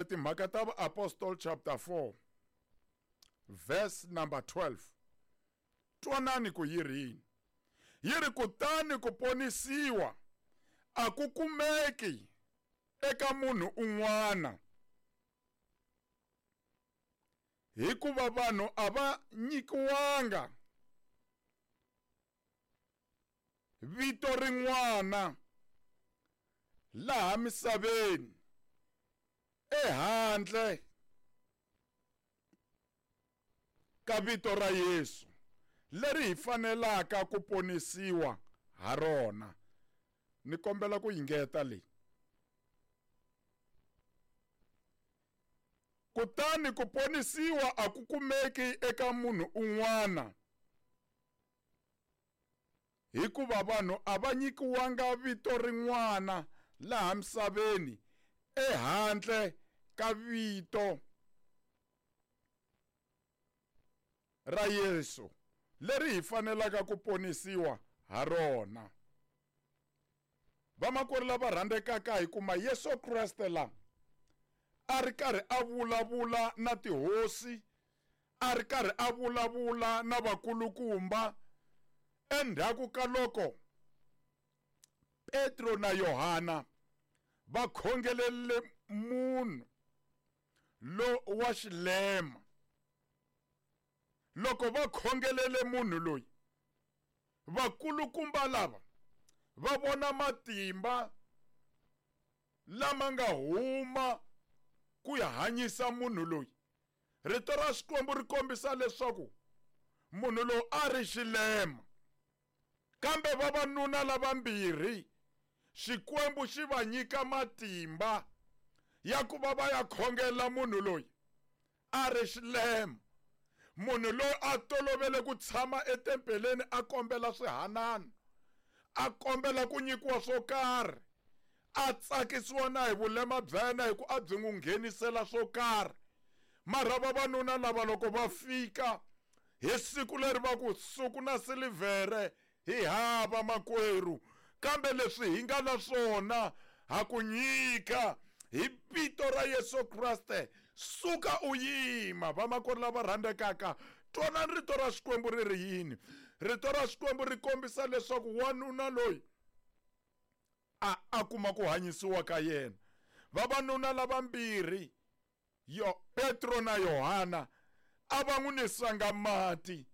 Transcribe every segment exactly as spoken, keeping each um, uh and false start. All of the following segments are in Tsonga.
Timhaka ta Vaapostol chapter four verse number twelve. Twanani ku yi ri yini. Yi ri kutani ku ponisiwa a ku kumeki eka munhu un'wana, hikuva vanhu a va nyikiwanga vito rin'wana laha misaveni ehandle ka vito ra Yesu leri hi fanelaka ku ponisiwa ha rona. Ni kombela ku yingeta leyi. Kutani ku ponisiwa a ku kumeki eka munhu un'wana, hikuva vanhu a va nyikiwanga vito rin'wana laha misaveni ehandle ka vito ra Yesu leri hi fanelaka ku ponisiwa ha rona. Vamakwerhu lava rhandzekaka, hi kuma Yesu Kreste la a ri karhi a vulavula na tihosi, a ri karhi a vulavula na vakulukumba endzhaku ka loko Petro na Yohana va khongelele munhu lo wa xilema. Loko va khongelele munhu loyi, vakulukumba lava va vona matimba lama nga huma ku ya hanyisa munhu loyi. Rito ra Xikwembu ri kombisa leswaku munhu loyi a ri xilema, kambe vavanuna lavambirhi Xikwembu xi va nyika matimba ya ku va va ya khongela munhu loyi a ri xilema. Munhu loyi a tolovele ku tshama etempeleni a kombela swihanano, a kombela ku nyikiwa swo karhi, a tsakisiwa na hi vulema bya yena hi ku a byi n'wi nghenisela swo karhi. Mara vavanuna lava loko va fika hi siku leri va ku suku na silivhere hi hava makwerhu, kambe leswi hi nga na swona ha ku nyika hi vito ra Yesu Kreste, suka u yima. Vamakwerhu lava rhandzekaka, twanani rito ra Xikwembu ri ri yini. Rito ra Xikwembu ri kombisa leswaku wanuna loyi a a kuma ku hanyisiwa ka yena. Vavanuna lavambirhi, yo Petro na Yohana, a va n'wi nisanga mati,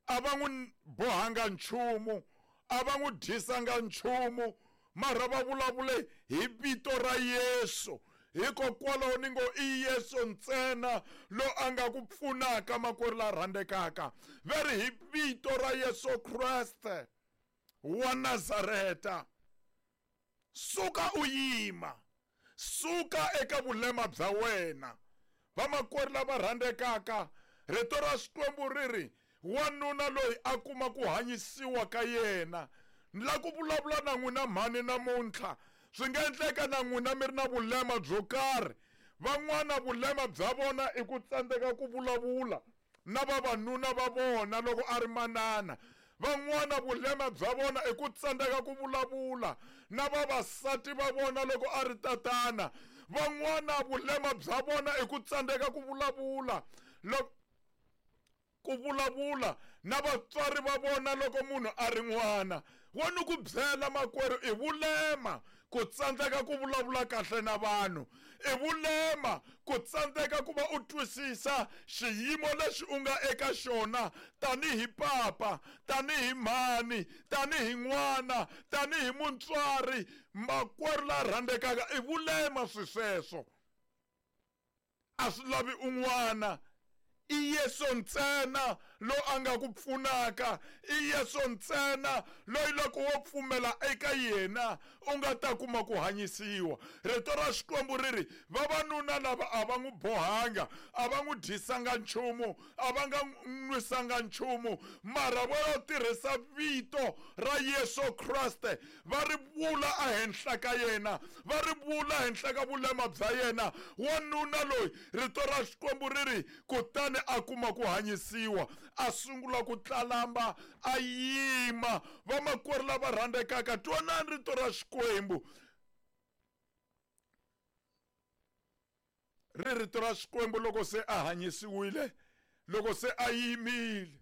a va n'wi bohanga nchumu, a va n'wi dyisanga nchumu, mara va vulavule hi vito ra Yesu. Hikokwalaho ni ngo i Yesu ntsena lo a nga ku pfunaka, makwerhu la rhandzekaka. Va ri hi vito ra Yesu Kreste wa Nazareta, suka u yima, suka eka vulema bya wena. Vamakwerhu lava rhandzekaka, rito ra Xikwembu ri ri wanuna loyi a kuma ku hanyisiwa ka yena. Ni lava ku vulavula na n'wina mhani namuntlha. Swi nga endleka na n'wina mi ri na vulema byo karhi. Van'wana vulema bya vona i ku tsandzeka ku vulavula na vavanuna va vona loko a ri manana. Van'wana vulema bya vona i ku tsandzeka ku vulavula na vavasati va vona loko a ri tatana. Van'wana vulema bya vona i ku tsandzeka ku vulavula loko ku vulavula na vatswari va vona loko munhu a ri n'wana. Wa ni ku byela makwerhu, i vulema ku tsandzeka ku vulavula kahle na vanhu, i vulema ku tsandzeka ku va u twisisa xiyimo lexi u nga eka xona tanihi papa, tanihi mhani, tanihi n'wana, tanihi mutswari. Makwerhu la rhandzekaka, i vulema swi sweswo. A swi lavi un'wana, i Yesu ntsena lo a nga ku pfunaka, i Yesu ntsena loyi loko wo pfumela eka yena u nga ta kuma ku hanyisiwa. Rito ra Xikwembu ri ri vavanuna lava a va n'wi bohanga, a va n'wi dyisanga nchumu, a va nga nwisanga nchumu, mara va yo tirhisa vito ra Yesu Kreste, va ri vula ehenhla ka yena, va ri vula henhla ka vulema bya yena. Wanuna loyi, rito ra Xikwembu ri ri kutani a kuma ku hanyisiwa, a sungula ku tlalamba, a yima. Vamakwerhu lava rhandzekaka, twanani rito ra Xikwembu. Ri rito ra Xikwembu loko se a hanyisiwile, loko se a yimile,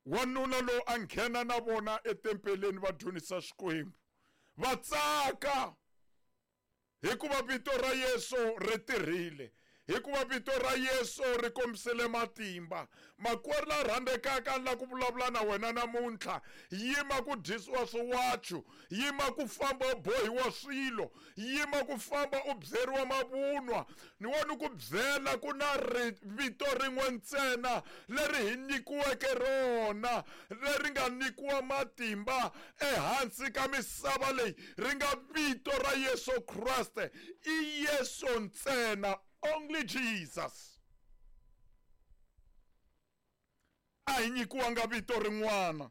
wanuna lowu a nghena na vona etempeleni va dyondzisa Xikwembu, va tsaka hikuva vito ra Yesu ri tirhile, hikuva vito ra Yesu ri kombisile matimba. Makwerhu la rhandzekaka, ni la ku vulavula na wena namuntlha, yima ku dyisiwa swiwachu, yima ku famba u bohiwa swilo, yima ku famba u byeriwa mavunwa. Ni wo ni ku byela ku na vito rin'we ntsena leri hi nyikiweke rona, leri nga nyikiwa matimba ehansi ka misava leyi, ri nga vito ra Yesu Kreste. I Yesu ntsena, only Jesus. A hi nyikiwanga vito rin'wana,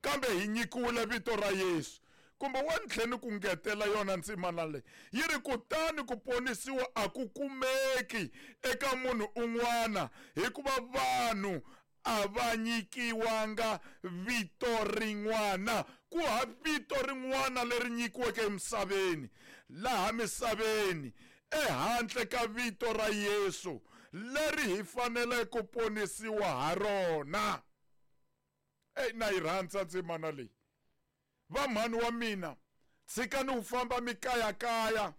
kambe hi nyikiwile vito ra Yesu. Kumbe wa ni tlhela ni ku ngetela yona ndzimana leyi, yi ri kutani ku ponisiwa a ku kumeki eka munhu un'wana, hikuva vanhu a va nyikiwanga vito rin'wana. Ku ha vito rin'wana leri nyikiweke emisaveni, laha misaveni, ehandle ka vito ra Yesu leri hi fanele ku ponisiwa ha rona. Ey, na yi rhandza ndzimana leyi. Vamhani wa mina, tshikani ku famba mi kayakaya,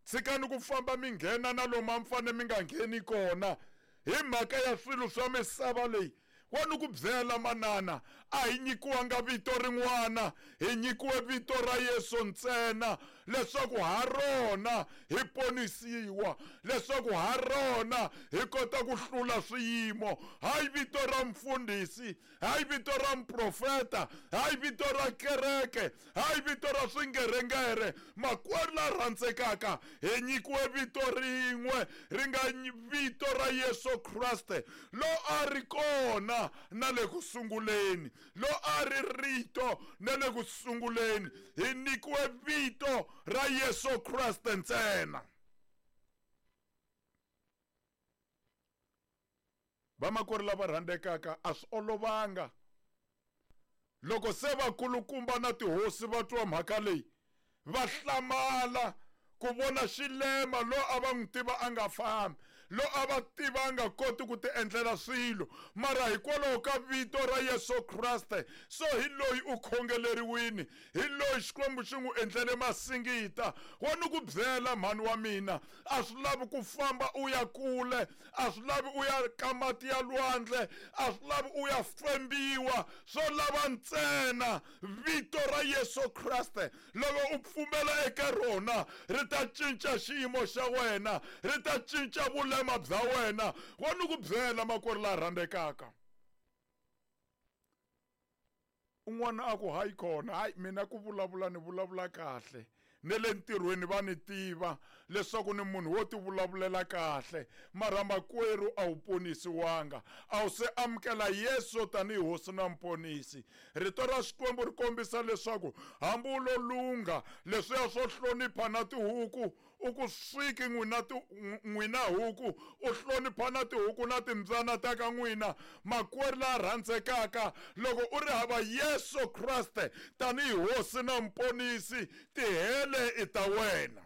tshikani ku famba mi nghena na lomu a mi fanele mi nga ngheni kona hi mhaka ya swilo swa misava leyi. Wa ni ku byela manana, a hi nyikiwanga vito rin'wana, hi nyikiwe vito ra Yesu ntsena, leswaku ha rona hi ponisiwa, leswaku ha rona hi kota ku hlula swiyimo. Hayi vito ra mfundhisi, hayi vito ra muprofeta, hayi vito ra kereke, hayi vito ra swingerengere. Makwerhu la rhandzekaka, hi nyikiwe vito rin'we, ri nga vito ra Yesu Kreste, lo a ri kona na le ku sunguleni, lo a ri rito na le ku sunguleni. Hi nyikiwe vito ra Yesu Kreste ntsena. Vamakwerhu lava rhandzekaka, a swi olovanga loko se vakulukumba na tihosi va twa mhaka leyi, va hlamala ku vona xilema lo a va n'wi tiva a nga fambi, lo a va tiva a nga koti ku ti endlela swilo, mara hikwalaho ka vito ra Yesu Kreste, so hi loyi u khongeleriwini, hi loyi Xikwembu xi n'wi endlele masingita. Wa ni ku byela mhani wa mina, a swi lavi ku famba u ya kule, a swi lavi u ya ka mati ya lwandle, a swi lavi u ya fembiwa, swo lava ntsena vito ra Yesu Kreste. Loko u pfumela eka rona, ri ta cinca xiyimo xa wena, ri ta cinca vulema bya wena. Wa ni ku byela makwerhu la rhandzekaka, un'wana a ku hayi kona, hayi mina ku vulavula ni vulavula kahle, ne le ntirhweni va ni tiva leswaku ni munhu wo ti vulavulela kahle, mara makwerhu a wu ponisiwanga, a wu se amukela Yesu tanihi hosi na muponisi. Rito ra Xikwembu ri kombisa leswaku hambi u lo lungha leswiya swo hlonipha na tihuku, u ku swiki n'wina n'wina huku, u hlonipha na tihuku na timbyana ta ka n'wina. Makwerhu la rhandzekaka, loko u ri hava Yesu Kreste tanihi hosi na muponisi, tihele i ta wena.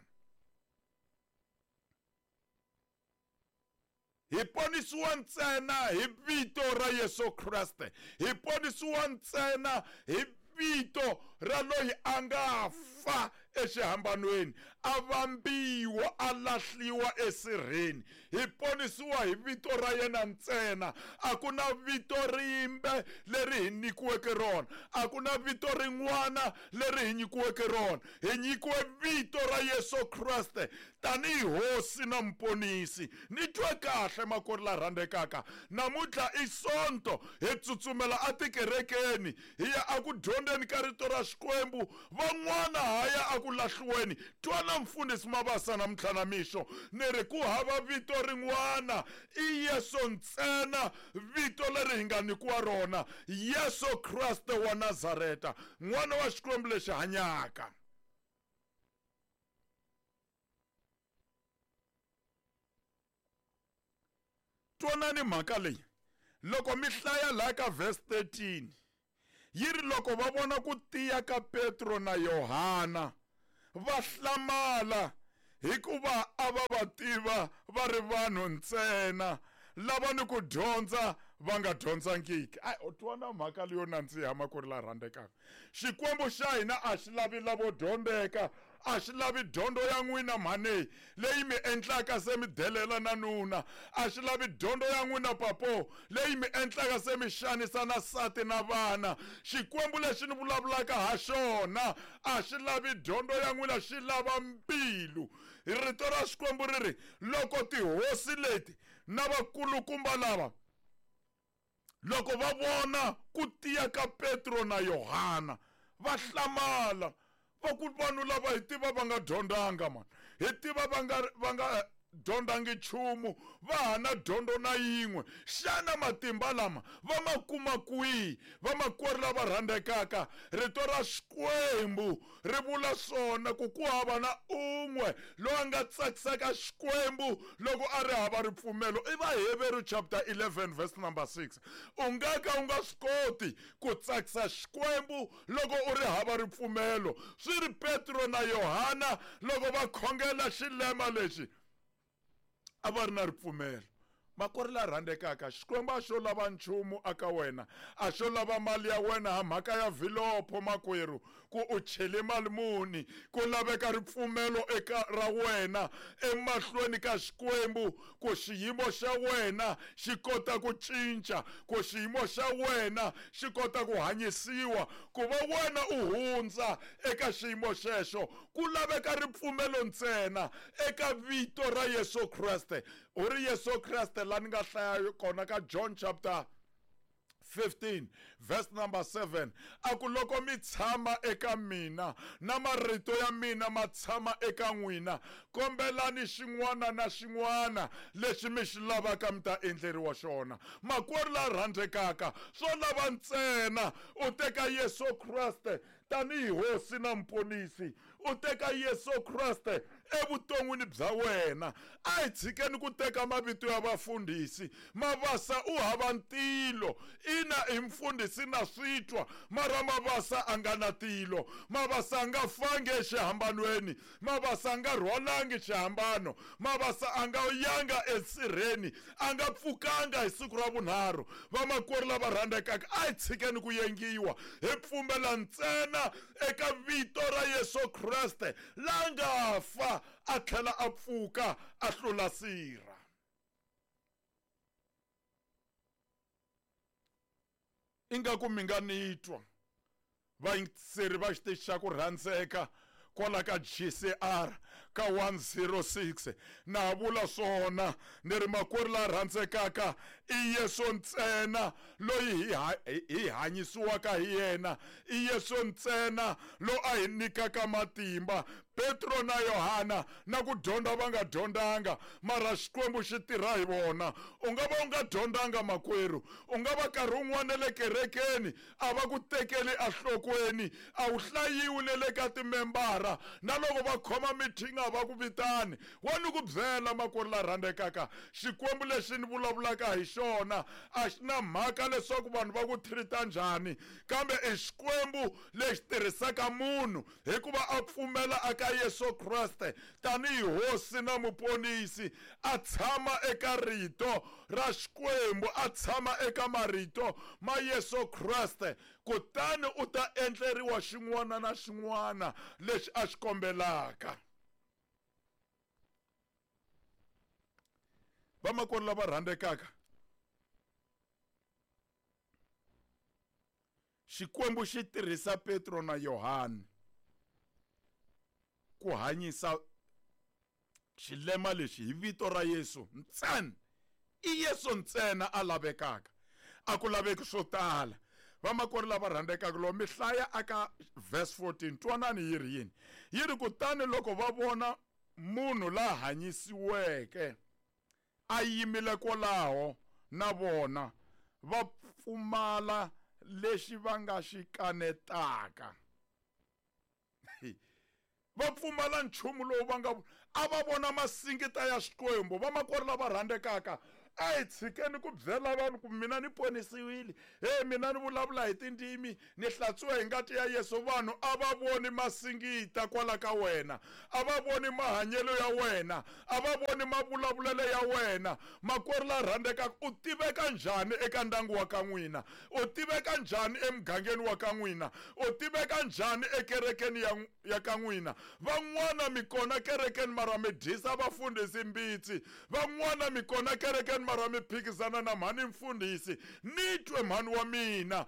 Hi ponisiwa ntsena hi vito ra Yesu Kreste, hi ponisiwa ntsena hi vito ra loyi a nga fa exihambanweni, a vambiwa, a lahliwa esirheni. Hi ponisiwa hi vito ra yena ntsena. A ku na vito rimbe leri hi nyikiweke rona, a ku na vito rin'wana leri hi nyikiweke rona. Hi nyikiwe vito ra Yesu Kreste tanihi hosi na muponisi. Ni twe kahle makwerhu la rhandzekaka, namuntlha i Sonto, hi tsutsumela etikerekeni, hi ya eku dyondzeni ka rito ra Xikwembu, van'wana haya eku lahliweni. Twana mfundhisi Mabasa namuntlha na mixo, ni ri ku hava vito rin'wana, i Yesu ntsena, vito leri hi nga nyikiwa rona, Yesu Kreste wa Nazareta, n'wana wa Xikwembu lexi hanyaka. Twanani mhaka leyi, loko mi hlaya laha ka verse thirteen, yi ri loko va vona ku tiya ka Petro na Yohana, va hlamala Hikuva a va va tiva va ri vanhu ntsena lava ni ku dyondza va nga dyondzangiki. Ai, u twa na mhaka leyo nandziha makwerhu la rhandzekaka. Xikwembu xa hina a xi lavi lavo dyondzeka, a xi lavi dyondzo ya n'wina mhani leyi mi endlaka se mi delela na nuna, a xi lavi dyondzo ya n'wina papo leyi mi endlaka se mi xanisa na sati na vana. Xikwembu lexi ni vulavulaka ha xona a xi lavi dyondzo ya n'wina, xi lava mbilu. Rito ra Xikwembu ri ri loko tihosi leti na vakulukumba lava loko va vona ku tiya ka Petro na Yohana va hlamala, va ku vanhu lava hi tiva va nga dyondzanga man, hi tiva va nga va nga dyondzangi nchumu, va ha na dyondzo na yin'we. Xana matimba lama va ma kuma kwihi? Vamakwerhu lava rhandzekaka, rito ra Xikwembu ri vula swona ku ku hava na un'we loyi a nga tsakisaka Xikwembu loko a ri hava ripfumelo. I Vaheveru chapter eleven verse number six. U nga ka u nga swi koti ku tsakisa Xikwembu loko u ri hava ripfumelo. Swi ri Petro na Yohana loko va khongela xilema lexi a va ri na ripfumelo. Makwerhu la rhandzekaka, Xikwembu a xo lava nchumu aka wena, a xo lava mali ya wena ha mhaka ya vilopho makwerhu, ku u chele mali muni. Ku laveka ripfumelo eka ra wena emahlweni ka Xikwembu ku xiyimo xa wena xi kota ku cinca, ku xiyimo xa wena xi kota ku hanyisiwa, ku va wena u hundza eka xiyimo xexo. Ku laveka ripfumelo ntsena eka vito ra Yesu Kreste. U ri Yesu Kreste la ni nga hlaya kona ka John chapter fifteen verse number seven, a ku loko mi tshama eka mina na marito ya mina ma tshama eka n'wina, kombelani xin'wana na xin'wana lexi mi xi lavaka mi ta endleriwa xona. Makwerhu la rhandzekaka, swo lava ntsena u teka Yesu Kreste tanihi hosi na muponisi, u teka Yesu Kreste evuton'wini bya wena. A hi tshikeni ku teka mavito ya vafundhisi. Mavasa u hava ntilo, ina i mfundhisi na swi twa, mara Mavasa a nga na tilo. Mavasa a nga fangi exihambanweni, Mavasa a nga rhwalangi xihambano, Mavasa a nga yanga esirheni, a nga pfukanga hi siku ra vunharhu. Vamakwerhu lava rhandzekaka, a hi tshikeni ku yengiwa, hi pfumela ntsena eka vito ra Yesu Kreste la nga fa a tlhela a pfuka a hlula sirha. Ingaku mi nga ni twa vayingiseri va xitichi xa ku rhandzeka kwala ka G C R ka one zero six. Na vula swona ni ri makwerhu la rhandzekaka, i Yesu ntsena loyi hi hi hanyisiwaka hi yena, i Yesu ntsena lo a hi nyikaka matimba. Petro na Yohana na ku dyondza va nga dyondzanga, mara Xikwembu xi tirha hi vona. U nga va u nga dyondzanga makwerhu, u nga va nkarhi wun'wana le kerekeni a va ku tekeli enhlokweni, a wu hlayiwi ne le ka timembara, na loko va khoma meeting a va ku vitani. Wa ni ku byela makwerhu la rhandzekaka, Xikwembu lexi ni vulavulaka hi xona a xi na mhaka leswaku vanhu va ku treat-a njhani, kambe i Xikwembu lexi tirhisaka munhu hikuva a pfumela aka Yesu Kreste tanihi hosi na muponisi, a tshama eka rito ra Xikwembu, a tshama eka marito ma Yesu Kreste, kutani u ta endleriwa xin'wana na xin'wana lexi a xi kombelaka. Vamakwerhu lava rhandzekaka, Xikwembu xi tirhisa Petro na Yohane ku hanyisa xilema lexi hi vito ra Yesu ntsena. I Yesu ntsena a lavekaka, a ku laveki swo tala. Vamakwerhu lava rhandzekaka, loko mi hlaya aka verse fourteen, twanani yi ri yini? Yi ri kutani loko va vona munhu la hanyisiweke a yimile kwalaho na vona, va pfumala lexi va nga xi kanetaka. Va pfumala nchumu lowu va nga a va vona masingita ya Xikwembu. Vamakwerhu lava rhandzekaka, A hi tshikeni ku byela vanhu ku mina ni ponisiwile, he mina ni vulavula hi tindzimi, ni hlantswiwe hi ngati ya Yesu. Vanhu a va voni masingita kwala ka wena, a va voni mahanyelo ya wena, a va voni mavulavulelo ya wena. Makwerhu la rhandzekaka, u tiveka njhani eka ndyangu wa ka n'wina? U tiveka njhani emugangeni wa ka n'wina? U tiveka njhani ekerekeni ya, ya ka n'wina? Van'wana mi kona kerekeni mara mi dyisa vafundhisi mbitsi, van'wana mi kona kerekeni mara mi phikizana na mhani mfundhisi. Ni twe mhani wa mina,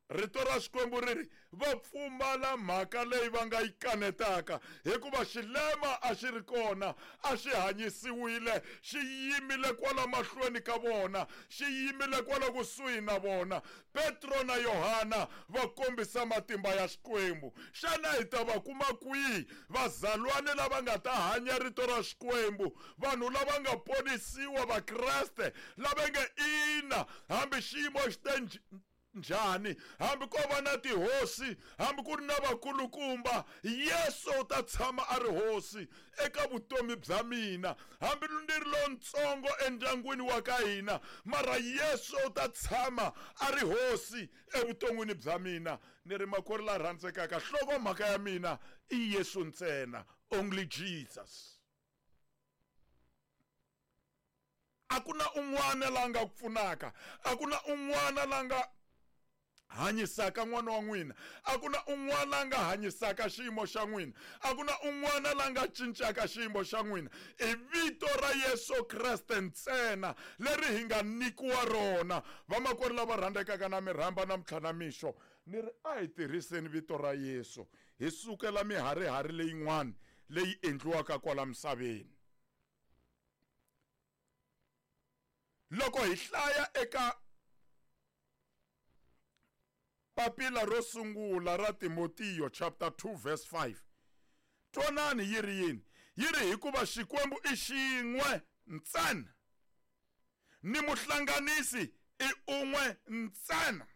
rito ra Xikwembu ri ri va pfumala mhaka leyi va nga yi kanetaka, hikuva xilema a xi ri kona, a xi hanyisiwile, xi yimile kwala mahlweni ka vona, xi yimile kwala kusuhi na vona. Petro na Yohana va kombisa matimba ya Xikwembu. Xana hi ta va kuma kwihi vazalwane lava nga ta hanya rito ra Xikwembu, vanhu lava nga ponisiwa, Vakreste lava nge ina, hambi xiyimo xi te njhani, hambi ko va na tihosi, hambi ku ri na vakulukumba, Yesu u ta tshama a ri hosi eka vutomi bya mina. Hambi ni ri lontsongo endyangwini wa ka hina, mara Yesu u ta tshama a ri hosi evuton'wini bya mina. Ni ri makwerhu la rhandzekaka, nhlokomhaka ya mina i Yesu ntsena, only Jesus. A ku na un'wana la nga ku pfunaka, a ku na un'wana la nga hanyisaka n'wana wa n'wina, a ku na un'wana la nga hanyisaka xiyimo xa n'wina, a ku na un'wana la nga cincaka xiyimo xa n'wina. I vito ra Yesu Kreste ntsena leri hi nga nyikiwa rona. Vamakwerhu lava rhandzekaka, na mi rhamba namuntlha na mixo, ni ri a hi tirhiseni vito ra Yesu, hi sukela miharihari leyin'wana leyi endliwaka kwala misaveni. Loko hi hlaya eka papila ro sungula ra Timotiyo chapter two verse five, twanani yi ri yini? Yi ri hikuva Xikwembu i xin'we ntsena, ni muhlanganisi i un'we ntsena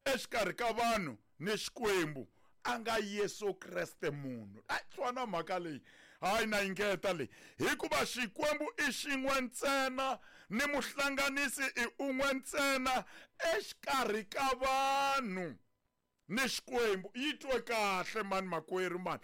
exikarhi ka vanhu ni Xikwembu, a nga Yesu Kreste munhu. Ai, twana mhaka leyi, hayi na yingeta leyi. Hikuva Xikwembu i xin'we ntsena, ni muhlanganisi i un'we ntsena exikarhi ka vanhu ni Xikwembu. Yi twe kahle mani makwerhu mani,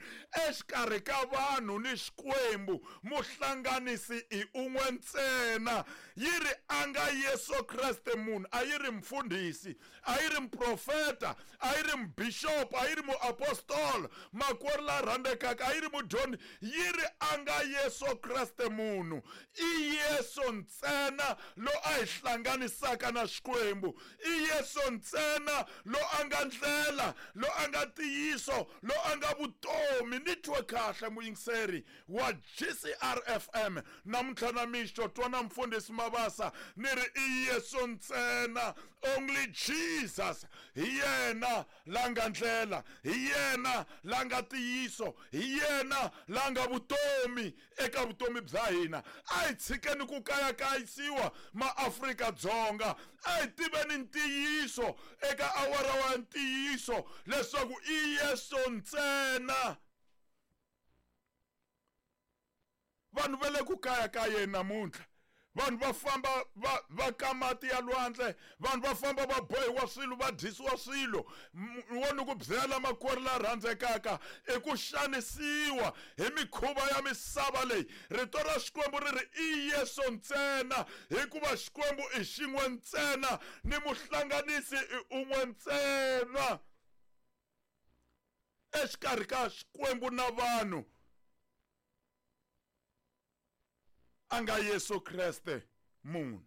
exikarhi ka vanhu ni Xikwembu muhlanganisi i un'we ntsena. Yi ri a nga Yesu Kreste munhu, a yi ri mfundhisi, a yi ri muprofeta, a yi ri mubishopo, a yi ri muapostolo, makwerhu la rhandzekaka, a yi ri mudyondzi, yi ri a nga Yesu Kreste munhu. I Yesu ntsena lo a hi hlanganisaka na Xikwembu, i Yesu ntsena lo a nga ndlela, lo a nga ntiyiso, lo a nga vutomi. Ni twe kahle muyingiseri wa G C R F M namuntlha na mixo, twana mfundhisi Mabasa, ni ri i Yesu ntsena, only Jesus. Hi yena la nga ndlela, hi yena la nga ntiyiso, hi yena la nga vutomi eka vutomi bya hina. A hi tshikeni ku kayakayisiwa maAfrika-Dzonga, a hi tiveni ntiyiso eka awara wa ntiyiso leswaku i Yesu ntsena. Vanhu va le ku kayakayeni namuntlha, vanhu va famba va va ka mati ya lwandle, vanhu va famba va bohiwa swilo, va dyisiwa swilo. Wo ni ku byela makwerhu la rhandzekaka, i ku xanisiwa hi mikhuva ya misava leyi. Rito ra Xikwembu ri ri i Yesu ntsena, hikuva Xikwembu i xin'we ntsena, ni muhlanganisi i un'we ntsena exikarhi ka Xikwembu na vanhu, a nga Yesu Kreste munhu.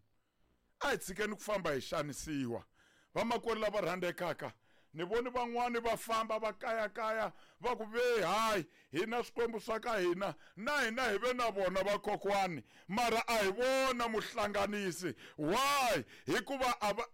A hi tshikeni ku famba hi xanisiwa. Vamakwerhu lava rhandzekaka, ni voni van'wani va famba va kayakaya va ku ve hayi, hina swikwembu swa ka hina, na hina hi ve na vona vakokwani, mara a hi vona muhlanganisi. Why? Hikuva a va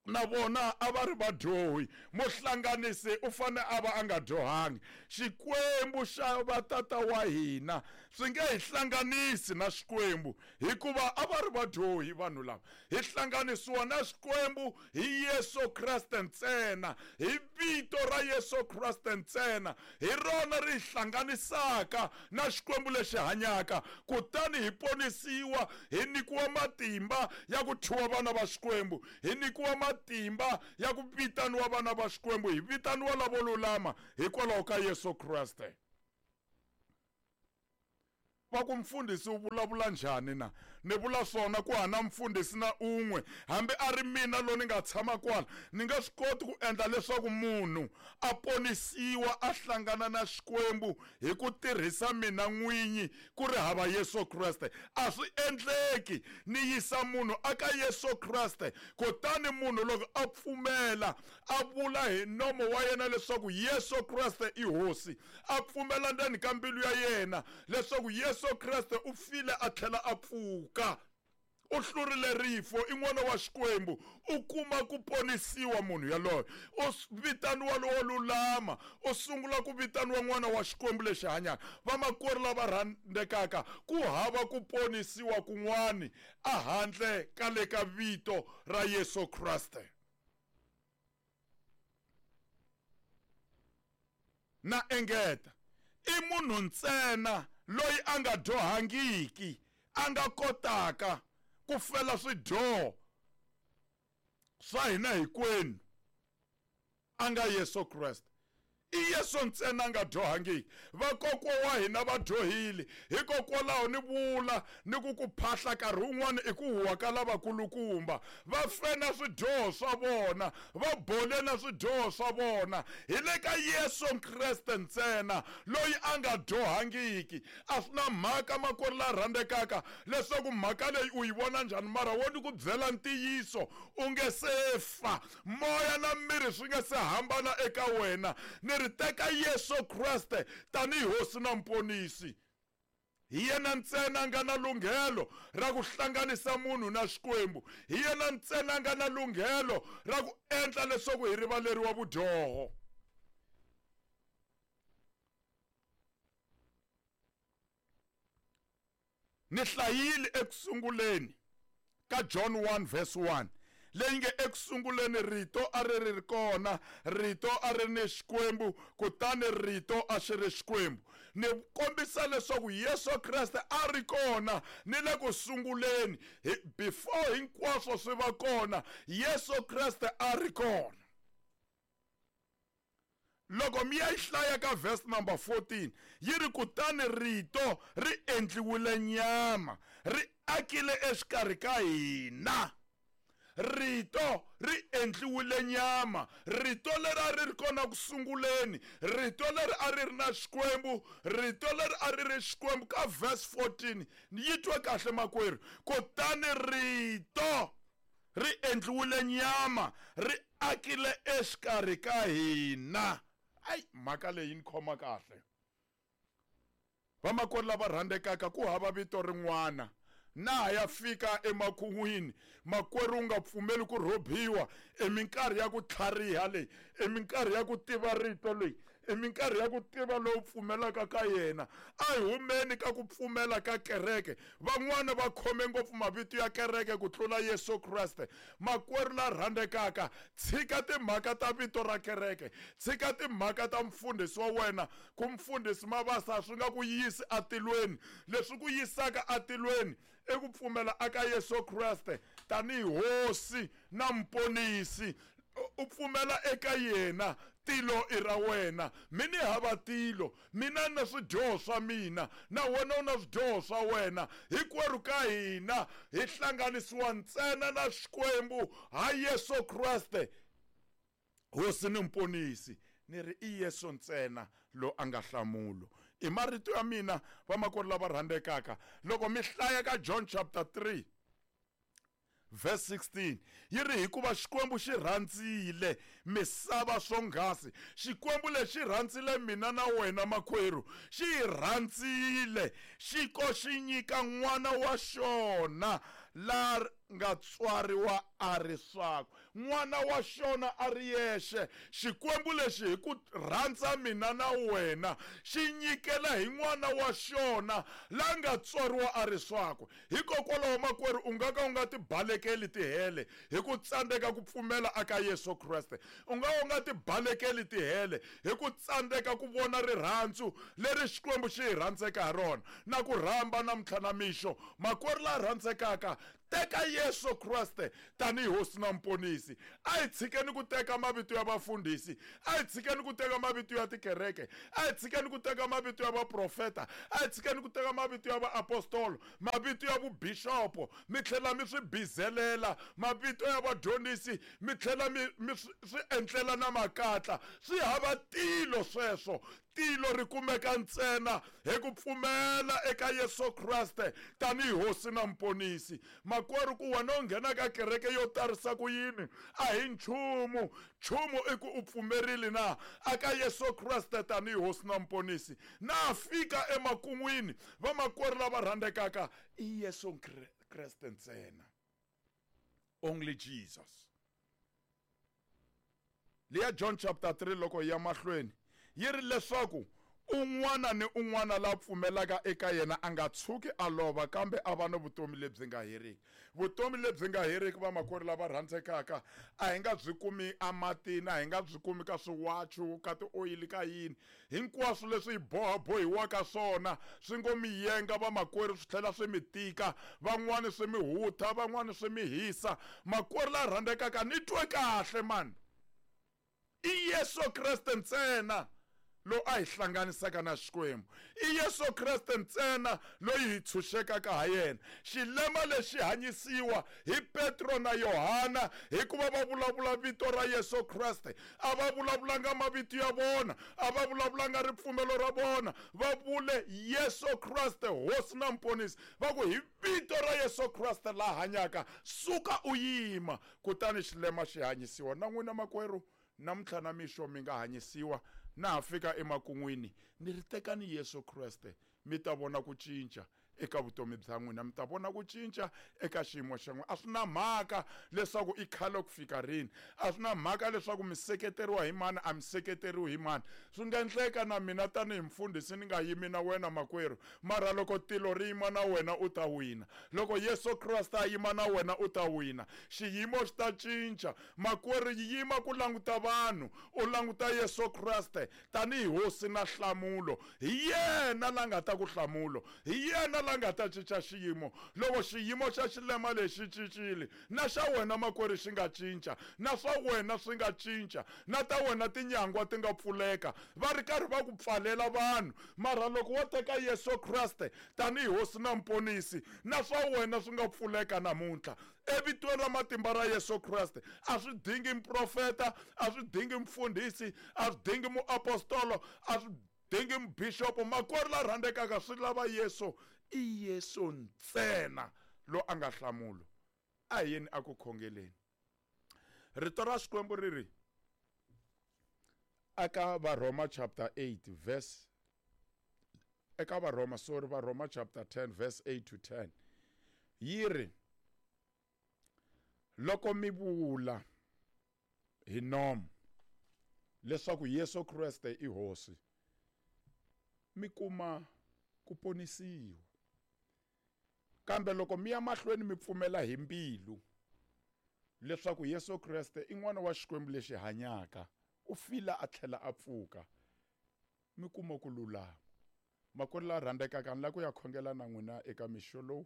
na vona a va ri vadyohi. Muhlanganisi u fane a va a nga dyohangi. Xikwembu xa vatata wa hina swi nge hi hlanganisi na Xikwembu, hikuva a va ri vadyohi vanhu lava. Hi hlanganisiwa na Xikwembu hi Yesu Kreste ntsena, hi vito ra Yesu Kreste ntsena, hi rona ri hi hlanganisaka na Xikwembu lexi hanyaka. Kutani hi ponisiwa, hi nyikiwa matimba ya ku thyiwa vana va Xikwembu, hi nyikiwa matimba ya ku vitaniwa vana va Xikwembu, hi vitaniwa lavo lulama hikwalaho ka Yesu Kreste. Va ku mfundhisi u vulavula njhani na? Ni vula swona ku hana mfundhisi na un'we, hambi a ri mina lo ni nga tshama kwala, ni nga swi koti ku endla leswaku munhu a ponisiwa a hlangana na Xikwembu hi ku tirhisa mina n'winyi ku ri hava Yesu Kreste. A swi endleki. Ni yisa munhu aka Yesu Kreste, kutani munhu loko a pfumela a vula hi nomo wa yena leswaku Yesu Kreste i Hosi, a pfumela ndzeni ka mbilu ya yena leswaku Yesu Kreste u file a tlhela a pfuka, u hlurile rifo, i n'wana wa Xikwembu, u kuma ku ponisiwa munhu yaloye, u vitaniwa lowo lulama, u sungula ku vitaniwa n'wana wa Xikwembu lexi hanyaka. Vamakwerhu lava rhandzekaka, ku hava ku ponisiwa kun'wani a handle ka le ka vito ra Yesu Kreste. Na engeta, i munhu ntsena loyi a nga dyohangiki a nga kotaka ku fela swidyoho swa hina hinkwenu, a nga Yesu Kreste. I Yesu ntsena a nga dyohangiki. Vakokwa wa hina va dyohile, hikokwalaho ni vula ni ku ku phahla nkarhi wun'wani i ku huwa ka lavakulukumba. Va fe na swidyoho swa vona, va bole na swidyoho swa vona. Hi le ka Yesu Kreste ntsena loyi a nga dyohangiki. A swi na mhaka makwerhu la rhandzekaka leswaku mhaka leyi u yi vona njhani, mara wo ni ku byela ntiyiso, u nge se fa, moya na miri swi nge se hambana eka wena. Ni ri teka Yesu Kreste tanihi Hosi na Muponisi. Hi yena ntsena a nga na lunghelo ra ku hlanganisa munhu na Xikwembu. Hi yena ntsena a nga na lunghelo ra ku endla leswaku hi rivaleriwa vudyoho. Ni hlayile ekusunguleni ka John one verse one, leyi nge ekusunguleni rito a ri ri kona, rito a ri ni Xikwembu, kutani rito a xi ri Xikwembu. Ni kombisa leswaku Yesu Kreste a ri kona ni le ku sunguleni, before hinkwaswo swi va kona, Yesu Kreste a ri kona. Loko mi ya yi hlaya ka verse number fourteen, yi ri kutani rito ri endliwile nyama, ri akile exikarhi ka hina. Rito ri endliwile nyama. Rito leri a ri ri kona ku sunguleni, rito leri a ri ri na Xikwembu, rito leri a ri ri Xikwembu. Ka verse fourteen, yi twe kahle makwerhu, kutani rito ri endliwile nyama, ri akile exikarhi ka hina. Ai, mhaka leyi ni khoma kahle. Vamakwerhu lava rhandzekaka, ku hava vito rin'wana. Na ya fika emakun'wini, makwerhu u nga pfumeli ku rhobiwa i minkarhi ya ku tlhariha leyi, i minkarhi ya ku tiva rito leyi, i minkarhi ya ku tiva lowu pfumelaka ka yena. A hi humeni ka ku pfumela ka kereke. Van'wana va khome ngopfu mavito ya kereke ku tlula Yesu Kreste. Makwerhu la rhandzekaka, tshika timhaka ta vito ra kereke, tshika timhaka ta mfundhisi wa wena. Ku mfundhisi Mabasa swi nga ku yisi atilweni. Leswi ku yisaka atilweni i ku pfumela aka Yesu Kreste tanihi Hosi na Muponisi. U pfumela eka yena, tilo i ra wena. Mina hava tilo, mina na swidyoho swa mina, na wena u na swidyoho swa wena. Hinkwerhu ka hina hi hlanganisiwa ntsena na Xikwembu ha Yesu Kreste Hosi ni Muponisi. Ni ri i Yesu ntsena lo a nga hlamulo. I marito ya mina vamakwerhu lava rhandzekaka. Loko mi hlaya ka John chapter three verse sixteen, yi ri hikuva Xikwembu xi rhandzile misava swonghasi. Xikwembu lexi rhandzile mina na wena makwerhu, xi hi rhandzile, xi ko xi nyika n'wana wa xona la nga tswariwa a ri swakwe. n'wana wa xona a ri yexe. Xikwembu lexi hi ku rhandza mina na wena xi nyikela hi n'wana wa xona la nga tswariwa a ri swakwe. Hikokwalaho makwerhu u nga ka u nga ti balekeli tihele hi ku tsandzeka ku pfumela aka Yesu Kreste. U nga u nga ti balekeli tihele hi ku tsandzeka ku vona rirhandzu leri Xikwembu xi hi rhandzeka ha rona. Na ku rhamba namuntlha na mixo makwerhu la rhandzekaka, teka Yesu Kreste tanihi hosi na muponisi. A hi tshikeni ku teka mavito ya vafundhisi, a hi tshikeni ku teka mavito ya tikereke, a hi tshikeni ku teka mavito ya vaprofeta, a hi tshikeni ku teka mavito ya vaapostolo, mavito ya vubishopo mi tlhela mi swi bizelela, mavito ya vadyondzisi mi tlhela mi mi swi endlela na makatla. Swi hava tilo sweswo. Tilo ri kumeka ntsena hi ku pfumela eka Yesu Kreste tanihi hosi na muponisi. Makwerhu, ku wena u nghena ka kereke yo tarisa ku yini a hi nchumu. Nchumu i ku u pfumerile na aka Yesu Kreste tanihi hosi na muponisi. Na fika emakun'wini vamakwerhu lava rhandzekaka, i Yesu Kreste ntsena. Only Jesus. Liya John chapter three loko ya mahlweni yi ri leswaku un'wana ni un'wana la pfumelaka eka yena a nga tshuki a lova kambe a va ni vutomi lebyi nga heriki. Vutomi lebyi nga heriki vamakwerhu lava rhandzekaka a hi nga byi kumi ematini, a hi nga byi kumi ka swiwachu, ka tioyili, ka yini. Hinkwaswo leswi hi bohabohiwaka swona swi ngo mi yenga vamakwerhu, swi tlhela swi mi tika, van'wani swi mi hutha, van'wani swi mi hisa. Makwerhu la rhandzekaka, ni twe kahle mani, i Yesu Kreste ntsena lo a hi hlanganisaka na Xikwembu. I Yesu Kreste ntsena loyi hi tshunxekaka ha yena. Xilema lexi hanyisiwa hi Petro na Yohana hikuva va vulavula vito ra Yesu Kreste. A va vulavulanga mavito ya vona, a va vulavulanga ripfumelo ra vona, va vule Yesu Kreste hosi na muponisi. Va ku hi vito ra Yesu Kreste la hanyaka, suka u yima. Kutani xilema xi hanyisiwa. Na n'wina makwerhu namuntlha na mixo mi nga hanyisiwa. Na ha fika emakun'wini ni ri tekani Yesu Kreste, mi ta vona ku cinca eka vutomi bya n'wina, mi ta vona ku cinca eka xiyimo xa n'wina. A swi na mhaka leswaku i khale ku fika rini, a swi na mhaka leswaku mi seketeriwa hi mani, a mi seketeriwi hi mani. Swi nga endleka na mina tanihi mfundhisi ni nga yimi na wena makwerhu, mara loko tilo ri yima na wena u ta wina. Loko Yesu Kreste a yima na wena u ta wina. Xiyimo xi ta cinca makwerhu. Yima ku languta vanhu, u languta Yesu Kreste tanihi hosi na nhlamulo. Hi yena la nga ta ku hlamulo, hi yena la nga ta cinca xiyimo. Loko xiyimo xa xilema lexi cincile, na xa wena makwerhu xi nga cinca, na swa wena swi nga cinca, na ta wena tinyangwa ti nga pfuleka. Va ri karhi va ku pfalela vanhu, mara loko wo teka Yesu Kreste tanihi hosi na muponisi, na swa wena swi nga pfuleka namuntlha. Evitweni ra matimba ra Yesu Kreste. A swi dingi muprofeta, a swi dingi mufundhisi, a swi dingi muapostolo, a swi dingi mubishopo. Makwerhu la rhandzekaka, swi lava Yesu. I Yesu ntsena lo a nga hlamulo. A hi yeni a ku khongeleni. Rito ra Xikwembu ri ri eka Varhoma chapter eight verse eka Varhoma sorry Varhoma chapter ten verse eight to ten yi ri loko mi vula hi nomu leswaku Yesu Kreste i hosi, mi kuma ku ponisiwa. Kambe loko mi ya mahlweni mi pfumela hi mbilu leswaku Yesu Kreste i n'wana wa Xikwembu lexi hanyaka, u file a tlhela a pfuka, mi kuma ku lulama. Makwerhu la rhandzekaka, ni lava ku ya khongela na n'wina eka mixo lowu.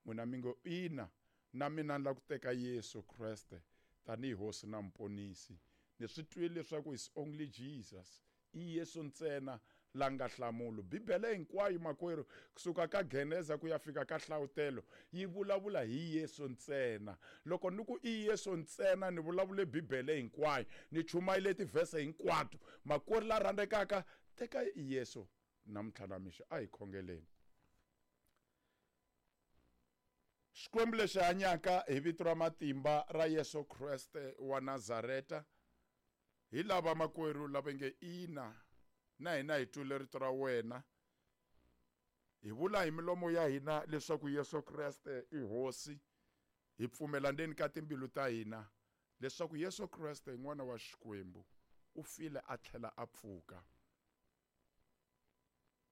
N'wina mi ngo ina, na mina ni lava ku teka Yesu Kreste tanihi hosi na muponisi. Ni swi twile leswaku is only Jesus, i Yesu ntsena la nga hlamulo. Bibele hinkwayo makwerhu kusuka ka Geneza ku ya fika ka Hlavutelo yi vulavula hi Yesu ntsena. Loko ni ku i Yesu ntsena ni vulavule Bibele hinkwayo, ni chumayile tivhese hinkwato. Makwerhu la rhandzekaka, teka Yesu namuntlha na mixo. A hi khongeleni. Xikwembu lexi hanyaka, hi vito ra matimba ra Yesu Kreste wa Nazareta, hi lava makwerhu lava nge ina, na hina hi twile rito ra wena, hi vula hi milomo ya hina leswaku Yesu Kreste i hosi, hi pfumela ndzeni ka timbilu ta hina leswaku Yesu Kreste n'wana wa Xikwembu u file a tlhela a pfuka.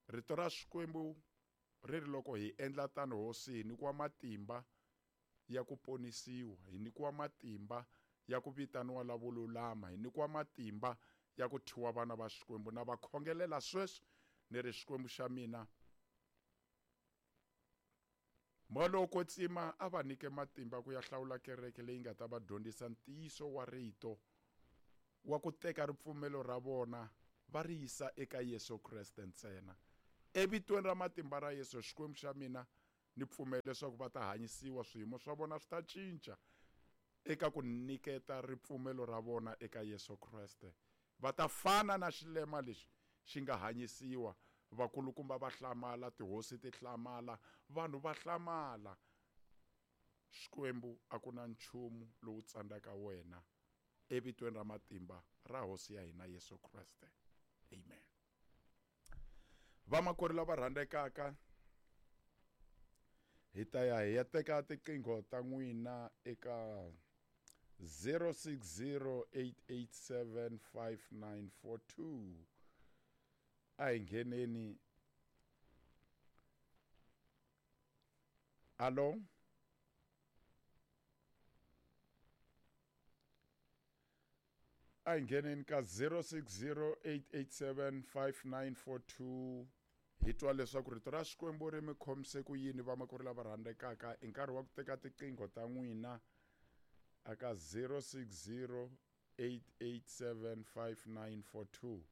Rito ra Xikwembu ri ri loko hi endla tano hosi hi nyikiwa matimba ya ku ponisiwa, hi nyikiwa matimba ya ku vitaniwa lavo lulama, hi nyikiwa matimba ya ku thyiwa vana va Xikwembu. Na va khongelela sweswi ni ri Xikwembu xa mina, moya lowo kwetsima a va nyike matimba ku ya hlawula kereke leyi nga ta va dyondzisa ntiyiso wa rito wa ku teka ripfumelo ra vona va ri yisa eka Yesu Kreste ntsena. Evitweni ra matimba ra Yesu, Xikwembu xa mina, ni pfumela leswaku va ta hanyisiwa, swiyimo swa vona swi ta cinca eka ku nyiketa ripfumelo ra vona eka Yesu Kreste. Va ta fana na xilema lexi xi nga hanyisiwa, vakulukumba va hlamala, tihosi ti hlamala, vanhu va hlamala. Xikwembu a ku na nchumu lowu tsandzaka wena, evitweni ra matimba ra hosi ya hina Yesu Kreste, amen. Vamakwerhu lava rhandzekaka, hi ta ya hi ya teka tiqingho ta n'wina eka zero six zero eight eight seven five nine four two. A hi ngheneni. Alo? A hi ngheneni ka zero six zero eight eight seven five nine four two. Hi twa leswaku rito ra Xikwembu ri mi khomise ku yini, vamakwerhu lava rhandzekaka. I nkarhi wa ku teka tiqingho ta n'wina aka zero six zero eight eight seven five nine four two.